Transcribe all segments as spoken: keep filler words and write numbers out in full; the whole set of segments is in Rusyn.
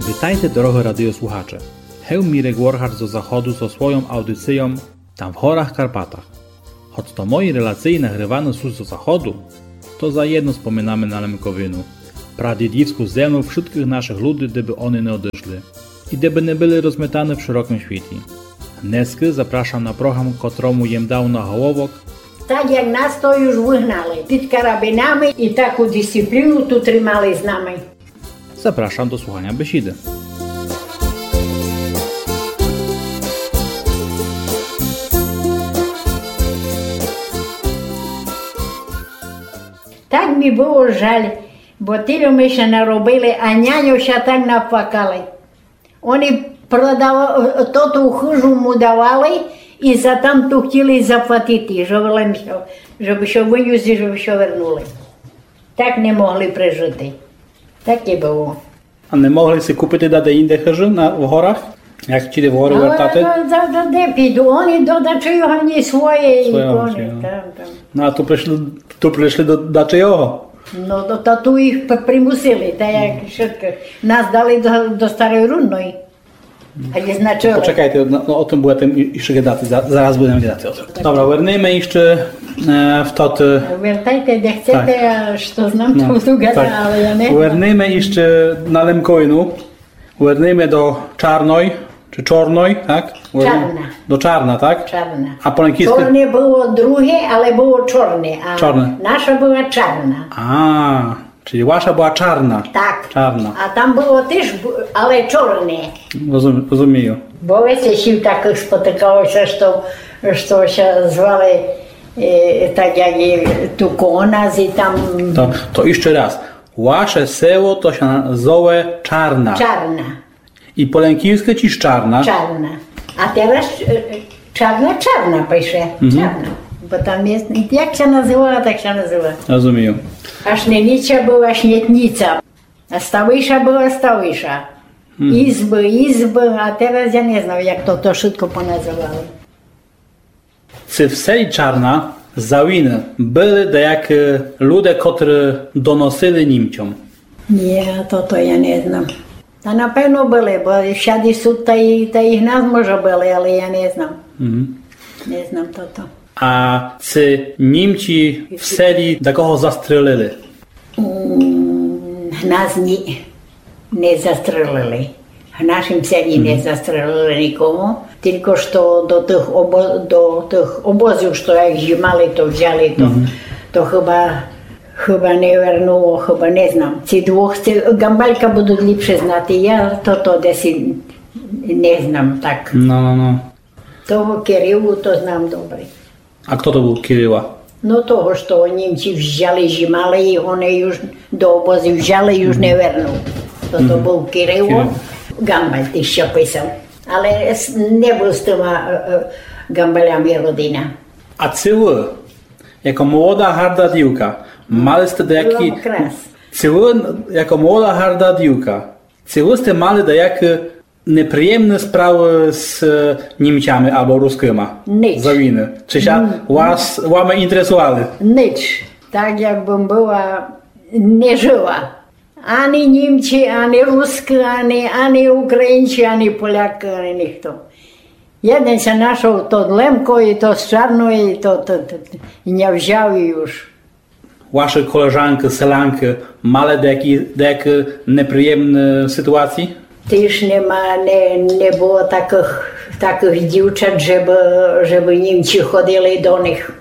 Витайте, дорогы радиослухаче! Гев Мірек Воргар зо заходу зо свойом аудицийом Там в горах Карпатах. Гоц то мої релациї нагрываны сут зо заходу, то заєдно споминаме на Лемковину, прадїдівску землю вшыткых нашых люди, де бы они не одышли і де бы не были розметаны в шырокым світі. Днеска запрашам на програм, котрому єм дав наголовок Так як нас то юж выгнали під карабинами і таку дисципліну ту тримали з нами. Запрашам до слуханя бесіды. Так мі было жаль, бо тілько мы ся наробили, а няньо ся так наплакали. Они продава-, тоту хыжу му давали і за тамту хотіли заплатити, жебы лем ся, жебы ся вынюсти, жебы ся вернули. Так не могли прежыти. Так і было. А не могли си купити даде інде хыжу на, в горах? Як хотіли в горы вертати? Но, да, да, де піду? Они до дачого ні своєї, своєї, там, там. Но а ту пришли, ту пришли до дачого? Но, то, то ту їх п-, примусили, та як шыткых. Нас дали до, до Старой Рудной. А є значок. Почекайте, но, но, о тым будеме і-, іщы гадати, за-, зараз будеме гадати о тым. Добре, вернеме іщы, е, в тот, е, Вертайте, де хцете, так. А што знам, то буду гадати, але я не знам. Вернеме іщы на Лемковину. Вернеме до Чарной, чи Чорной, так? Чарна. До Чарна, так? Чарна. А по лемківскы? Чорне было друге, але было Чорне, а наша была Чарна. А, чилі ваша была Чарна. Так. Чарна. А там было тіж, бу-, але Чорне. Розум-, розумію. Бо веце сів такых спотыкало ся, што, што ся звали, е, так як і ту коло нас і там. То, то іщы раз. Ваше село то ся на-, зове Чарна. Чарна. І по лемківскы тіж Чарна? Чарна. А тераз, е, Чарна, Чарна пише. Мгм. Чарна. Бо там є, як ся называла, так ся называла. Розумію. А Шненіця была Шнєтніца. А Ставиша была Ставиша. Мгм. Ізбы, Ізбы, а тераз я не знам, як то, то шытко поназывали. Ци в селі Чарна, Завины, были даякы люде, котры доносили Німцьом? Ні, то, то я не знам. Та напевно были, бо всяды сут, та і, та і в нас може были, але я не знам. Мгм. Не знам тото. А ци Німці в селі дакого застрелили? М, нас ні, не застрелили. В нашім селі не застрелили никого, тілько што до тых обо-, до тых обозів, што як жімали, то взяли, то, то хыба, хыба не вернуло, хыба не знам. Ці двох, ці Гамбалька будуть ліпше знати, я тото десь не знам так. Но, но, но. Того Кирилу то знам добре. А хто то быв Кирила? Но того, што німці взяли, жімали, і го не юж до обозів взяли, юж не вернул. То, то быв Кирило. Кирило. Гамбаль тіж ся писав. Але с-, не быв з тыма, е, е, Гамбалями родина. А ци вы, яко молода гарда дівка, мали сте даякі... Ци вы, яко молода гарда дівка, ци вы сте мали даякі неприємны справы з, е, Німцями або рускыма? Нич. За войны. Ци ся вас, вами інтересували? Нич. Так як бым была, не жыла. Ани Німці, ани Рускы, ани, ани Українці, ани Полякы, ани нихто. Єден ся нашол, тот Лемко, і то з Чарної, і то, то, то, і ня взял, і юж. Вашы колежанкы, селянкы мали даякі, даякі неприємны ситуації? Тіж нема, не, не было такых, такых дівчат, жебы, жебы Німці ходили до них.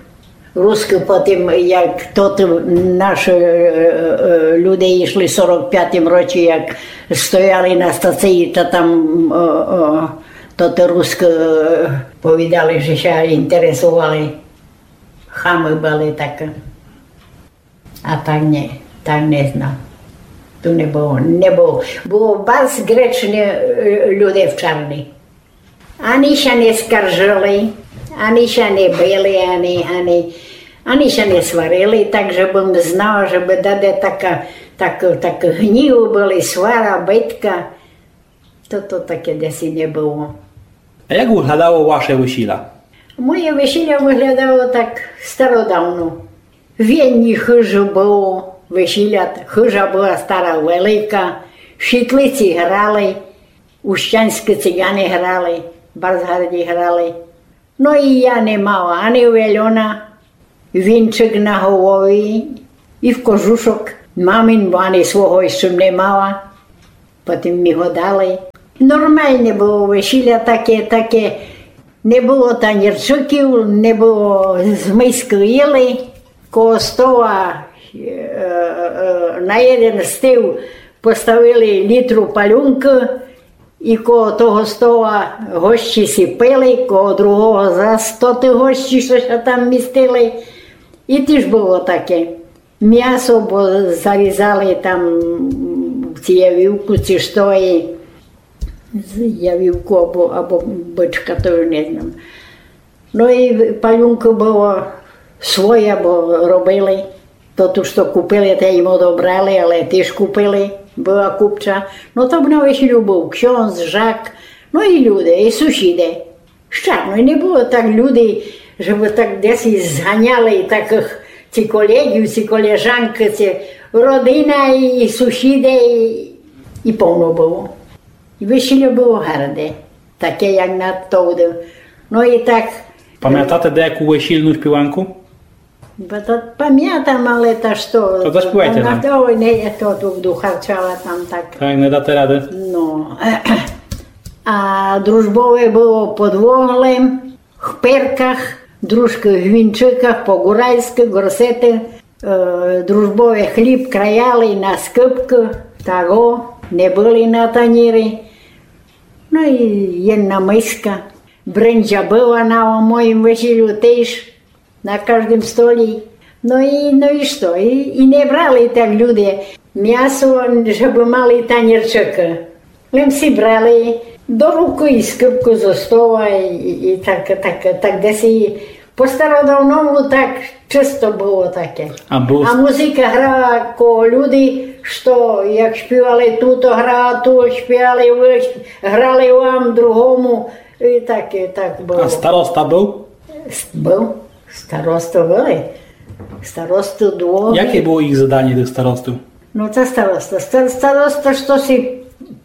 Рускы потім, як тот наш, е, е, е, люде ішли в сорок пятім році, як стояли на стації, та там, е, е, то тоты Рускы, е, повідали, же ся інтересували. Хамы были такы. А так не, так не знам. Ту не было, не было. Было барз гречны, е, люде в Чарни. Ани ся не скаржыли, ани ся не били, ани, ани, ани ся не сварили, так же бым знала, же бы даде така, так, так гніву были, свара, битка. То, то таке десь і не было. А як выглядало ваше весіля? Моє весіля выглядало так стародавно. В єдній хыжі было весіля, хыжа была стара, велика, Шитлиці грали, ущаньскы циганы грали, барз гарді грали. Но і я не мала ани вельона, вінчык на голові, і в кожушок мамин, бо ани свого іщы не мала. Потім мі го дали. Нормалне было весіля таке, таке. Не было танірчыків, не было, з миськы їли. Коло стола, е, е, на єден стіл поставили літру палюнкы, і коло того стола гості сі пили, коло другого зас тоты гості, што ся там містили. І тіж было таке. Мясо, бо зарізали там ци явівку, ци што, і з-, явівку або, або бычка, то уж не знам. Но і палюнкы было своє, бо робили. То ту, што купили, те їм одобрали, але тіж купили, была купча. Но то на весілю был ксьондз, жак, но і люде, і сусіде. Штатно, і не было так люди, жебы так десь зганяли, і так ци колеґів, ци колежанкы, ци родина, і, і сусіде, і, і повно было. І весілє было гарде, таке, як на товды. Но і так. Памятате даяку весільну шпіванку? Бо то памятам, але та што? То заспівайте нам. Ой, не, я то ту буду харчала там так. Так, не дате рады. Но. А дружбове было под воглем, в перках, дружкы в вінчыках, по-гуральскы, горсеты, е, дружбове хліб краяли на скыпкы, таго, не были на танірі. Но і єдна миска. Брынза была на моім весілю тіж. На каждым столі. Но і, но і што? І, і не брали так люде мясо, жебы мали танірчыкы. Лем сі брали до рукы і скыпку зо стола, і, і так, так, так десь і по стародавному так чысто было таке. А быв... А музыка грала коло люди, што як шпівали туто, грала ту, шпівали вы, грали вам другому. І так, і так было. А староста быв? С-, быв. Старосты были. Старосты довгі. Яке было їх заданя, тых старостів? Но та староста. Стар-, староста, што сі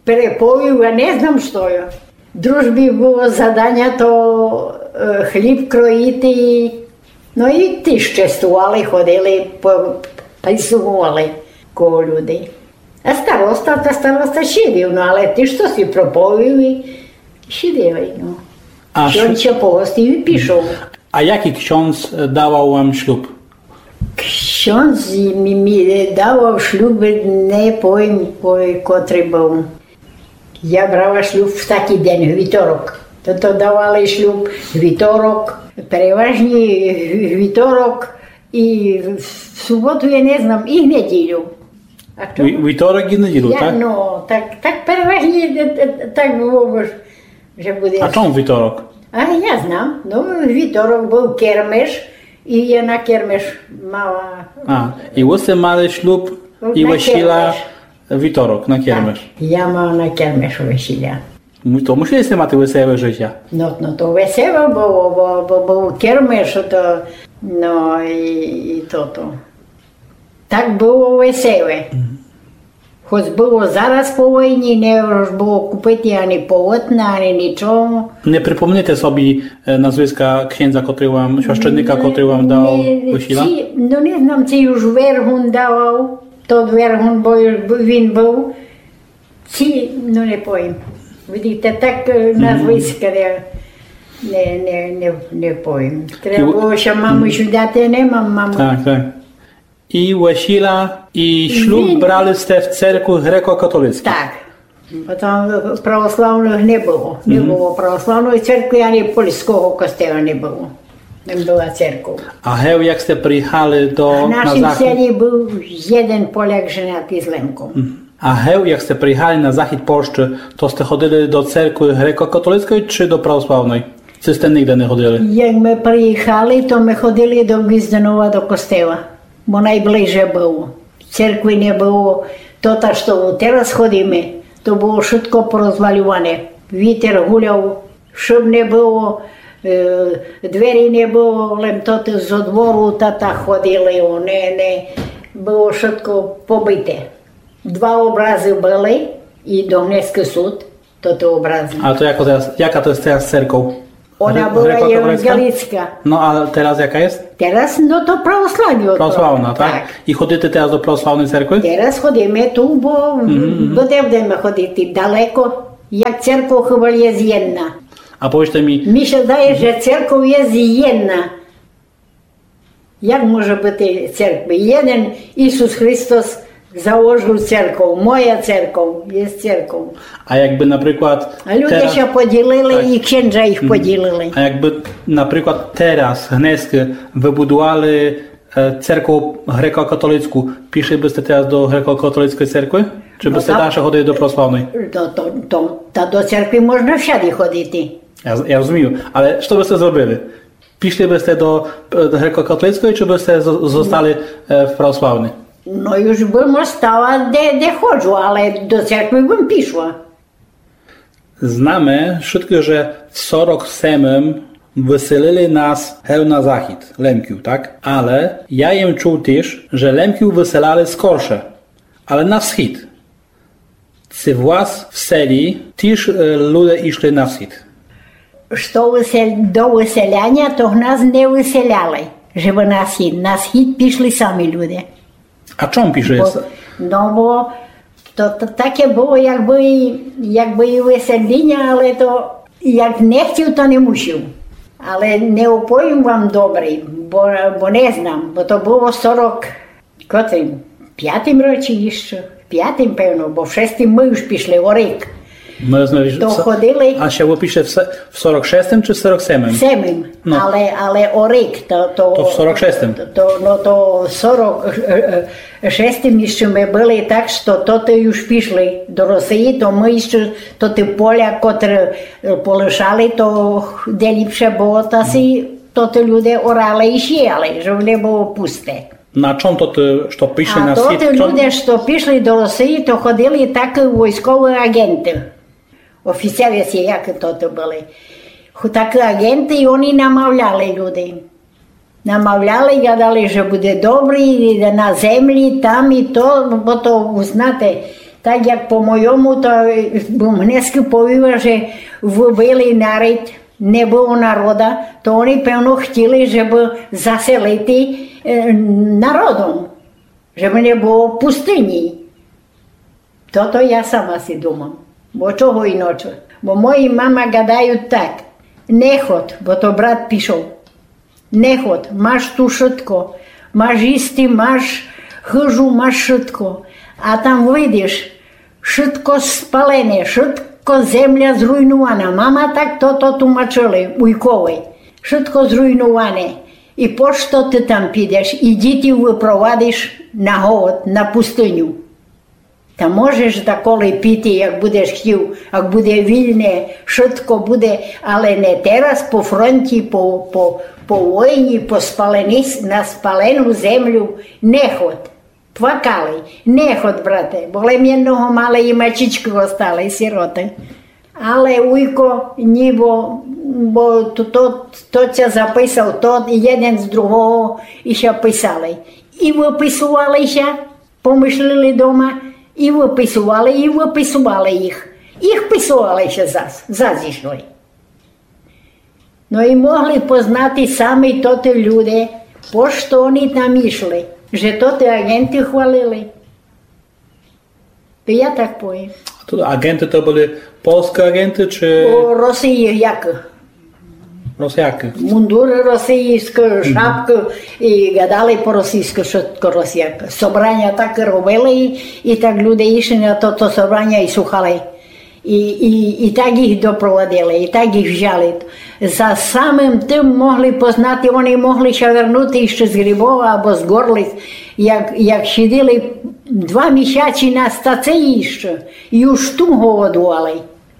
переповів, я не знам, што є. Дружбі было заданя то, е, хліб кроїти. Но і тіж честували, ходили, по-, пальсували коло люди. А староста, та староста сидів, но але тіж што сі проповів і сиділи, но. А ш-, ксьондз ся погостив і пішов. А якій ксьондз, е, давав вам шлюб? Ксьондз мі, мі давав шлюб, не повім, кой-, котрый быв. Я брала шлюб в такій день, в вівторок. То, то давали шлюб в вівторок, переважні в-, в вівторок, і в суботу, я не знам, і в неділю. А што? Ві-, вівторок і неділю, як, так? Но, так, так переважні, е, е, так было, бо ж, же буде. А чом вівторок? А я знам, но, вівторок быв кермеш, і я на кермеш мала. А, і вы сте мали шлюб, і весіля вівторок на кермеш. Так, я мала на кермеш весіля. Но, то мусили сте мати веселе житя. Но, но, то веселе было, бо, бо быв кермеш, то, но, і, і тото. Так было веселе. Мгм. Хоц было зараз по войні, не мож было купити ани полотна, ани нічого. Не припомнити собі, е, назвиска ксьондза, котрый вам, священника, котрый вам дав весіля? Ці, но, не знам, ци уж Вергун давав, тот Вергун, бо уж бу-, він быв. Ці, но, не повім. Видите, так, е, назвиска не, не, не, не, не повім. Треба было ся мамы шудати, не мам мамы. Так, так. І весіля, і шлюб брали сте в церкви греко-католицькій? Так. Бо там православных не было. Не было православної церкви, ани польского костела не было. Не была церков. А гев, як сте приїхали до, на захід? В нашім селі быв єден Поляк женатый з Лемком. Мгм. А гев, як сте приїхали на захід Польщы, то сте ходили до церкви греко-католицької чи до православної? Ци сте нигде не ходили? Як мы приїхали, то мы ходили до Гвізденова до костела, бо найближе было. Церкви не было. То та, што тераз ходиме, то было вшытко порозвалюване. Вітер гуляв, шыб не было, е, двері не было, лем тоты зо двору та, та ходили, о, не, не, было вшытко побите. Два образы были, І до гнеска сут, то то образно. А то яка то є, яка то є тераз церков? Она была євангелицька. Но, а тераз яка є? Тераз, но, то православна. Православна, так? Так. І ходите тераз до православної церкви? Тераз ходиме ту, бо, бо де будеме ходити? Далеко. Як церков хіба є єдна. А повіджте мі. Мі ся здає, же церков є єдна. Як може быти церкви? Єден Ісус Христос заложив церков, моя церков, є церков. А якбы, наприклад, а люде ся поділили, і ксенджа їх поділили. А якбы, наприклад, тераз гнеска выбудували, е, церкву греко-католицьку, пішли бы сте тераз до греко-католицькой церкви? Чи бы сте дальше ходили до православной? То, то, то, та до церкви можна всяды ходити. Я, я розумію, але што бы сте зробили? Пішли бы сте до, е, греко-католицькой, чи бы сте з-, зостали, е, в православній? Но, юж бым остала, де, де ходжу, але до церкви бым пішла. Знаме вшыткы, же в сорок семым выселили нас гев на захід, Лемків, так? Але я єм чув тіж, же Лемків выселяли скорше, але на схід. Ци в вас в селі тіж, е, люде ішли на схід? Што высел-, до выселяня, то нас не выселяли, жебы на схід. На схід пішли самі люде. А чом пішли? Бо, но, бо то, то таке было, якбы, якбы і выселіня, але то як не хтів, то не мусів. Але не оповім вам добрі, бо, бо не знам, бо то было сорок Котрым? Пятым році іщы? Пятым, певно, бо в шестым мы юж пішли, о рік. Мы сме... То ходили. А ще вы пішли в се-, в сорок шестым чи в сорок семым? Семым. Но. Але, але о рік, то, то... То в сорок шестым. То, но, то в сорок шестым іщы мы были, так што тоты юж пішли до Росії, то мы іщы тоты поля, котры, е, полишали, то де ліпше было, та си тоты люде орали і сіяли, жебы не было пусте. На чом то ты, што пішли на схід? А тоты люде, што пішли до Росії, то ходили такы войсковы аґенты. Офіцеры сі, як тоты были. Ху-, такы аґенты, і они намавляли людей. Намавляли, гадали, же буде добрі, і на землі, там і то, бо то, знате, так як по мойому, то, е, бым гнеска повіла, же выбили народ, не было народа, то они, певно, хтіли, жебы заселити, е, народом, жебы не было пустыні. Тото я сама си думам. Бо чого іноче? Бо мої мама гадают так: не ход, бо то брат пішов. Не ход, маш ту шытко, маш істи, маш хыжу, маш шытко. А там выйдеш, шытко спалене, шытко земля зруйнувана. Мама так тото тумачили уйкови. Шытко зруйнуване. І по што ты там підеш? І дітей выпровадиш на голод, на пустыню. Та можеш даколи піти, як будеш хтів, як буде вільне, шытко буде, але не тераз по фронті, по, по, по войні, по спалені с-, на спалену землю. Не ход. Плакали. Не ход, брате, бо лем єдного мали і мачічкы остали, сироты. Але уйко ні, бо, бо то, то, то ся записав, тот єден з другого і ся писали. І выписували ся, помышлили дома, і выписували, і выписували їх. Їх писували ся зас, зас ішли. Но і могли познати самі тоты люде, по што они там ішли, же тоты аґенты хвалили. То я так повім. А то аґенты то были польскы аґенты, чи... О, Росії, як? Росіякы. Мундуры російскы, шапкы, і гадали по російскы, шытко росіякы. Собраня такы робили, і, і так люде ішли на то, то собраня і слухали. І, і, і так їх допровадили, і так їх взяли. За самым тым могли познати, они могли ся вернути іщы з Грибова або з Горлиць, як, як сиділи два місяці на стації іщы, і уж ту голодували.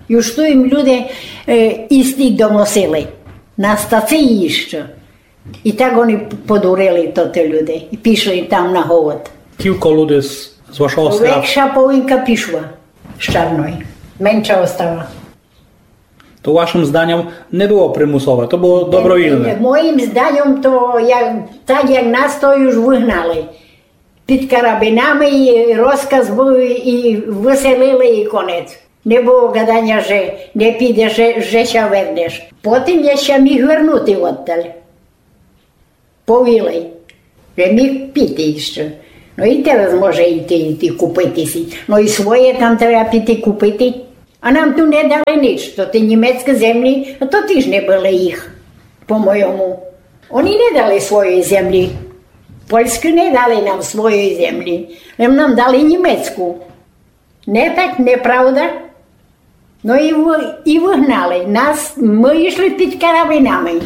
І уж ту їм люде, е, істи доносили. На стації іщы. І так они подурили, тоты люде, і пішли там на голод. Кілько люде з, з вашого села? Векша половинка пішла з Чарної. Менша остала. То вашым зданьом не было примусове, то было добровільне? Моїм зданьом то, як, так як нас, то юж выгнали. під карабинами, і розказ быв, і выселили, і конець. Не было гаданя, же не підеш, же, же ся вернеш. Потім я ся міг вернути одталь. Повіли, же міг піти іщы. Но і тераз може іти, іти купити си. Но і своє там треба піти купити. А нам ту не дали нич. То ті німецькі землі, а то тіж не были їх, по-мойому. Они не дали своєй землі. Польськы не дали нам своєй землі. Лем нам дали німецьку. Не так, неправда? Но і, вы, і выгнали нас, мы ішли під карабинами.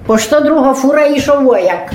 По сто друга фура ішов вояк.